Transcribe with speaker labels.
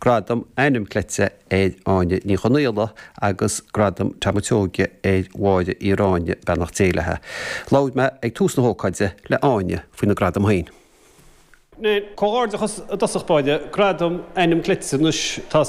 Speaker 1: Gradam Ainm Cleite ar Áine Ní Chonaola agus Gradam Tom a' tSeoighe ar Mháire Uí Ráinne, beannacht Dé léi. Labhair mé ag tús na hócáide le Áine faoina gradam féin. Comhghairdeachas i dtosach báire, Gradam Ainm Cleite anois, tá.